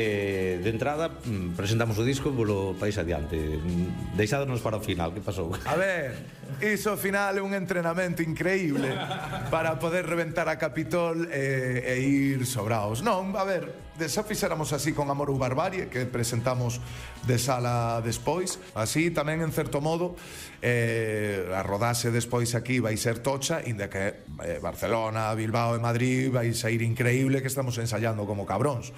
De entrada, presentamos o disco polo País Adiante. Deixádonos para o final, que pasou? A ver, iso ao final é un entrenamento increíble para poder reventar a Capitol e ir sobraos. Non, a ver, xa fixéramos así con Amor ou Barbarie, que presentamos de sala despois. Así tamén, en certo modo, a rodase despois aquí vai ser tocha, inda que Barcelona, Bilbao e Madrid vai sair increíble, que estamos ensayando como cabróns.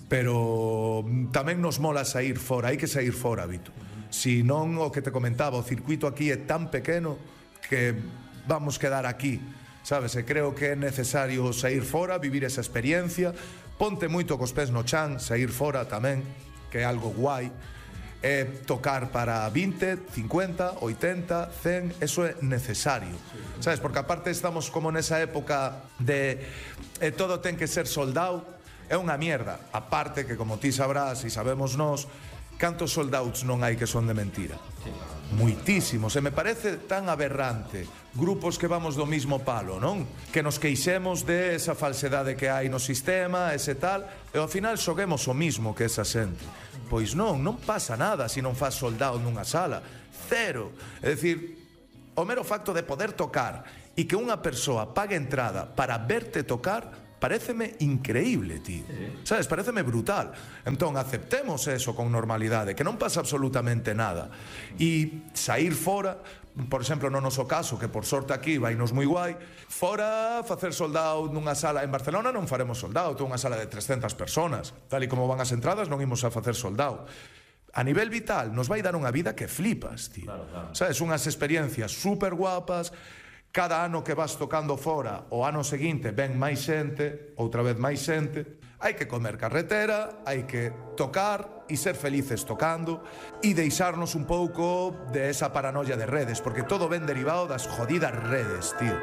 Pero tamén nos mola sair fora, hai que sair fora, Vito. Si non, o que te comentaba, o circuito aquí é tan pequeno que vamos quedar aquí, sabes? E creo que é necesario sair fora, vivir esa experiencia, ponte moito cos pés no chan, sair fora tamén, que é algo guai, tocar para 20, 50, 80, 100, eso é necesario, sabes? Porque aparte estamos como nesa época de todo ten que ser soldado. É unha mierda, aparte que como ti sabrás e sabemos nós, cantos sold-outs non hai que son de mentira? Moitísimos, e me parece tan aberrante grupos que vamos do mismo palo, non? Que nos queixemos de esa falsedade que hai no sistema, ese tal, e ao final xoguemos o mismo que esa xente. Pois non pasa nada se non faz sold-out nunha sala, cero. É dicir, o mero facto de poder tocar e que unha persoa pague entrada para verte tocar, paréceme increíble, tío. Sabes, paréceme brutal. Entón, aceptemos eso con normalidade, que non pasa absolutamente nada. E sair fora, por exemplo, no noso caso, que por sorte aquí vainos moi guai, fora facer soldado nunha sala en Barcelona non faremos soldado, unha sala de 300 personas. Tal e como van as entradas, non imos a facer soldado. A nivel vital, nos vai dar unha vida que flipas, tío. Claro. Sabes, unhas experiencias super guapas. Cada ano que vas tocando fora, o ano seguinte ven máis xente, outra vez máis xente. Hai que comer carretera, hai que tocar e ser felices tocando e deixarnos un pouco de esa paranoia de redes, porque todo ven derivado das jodidas redes, tío.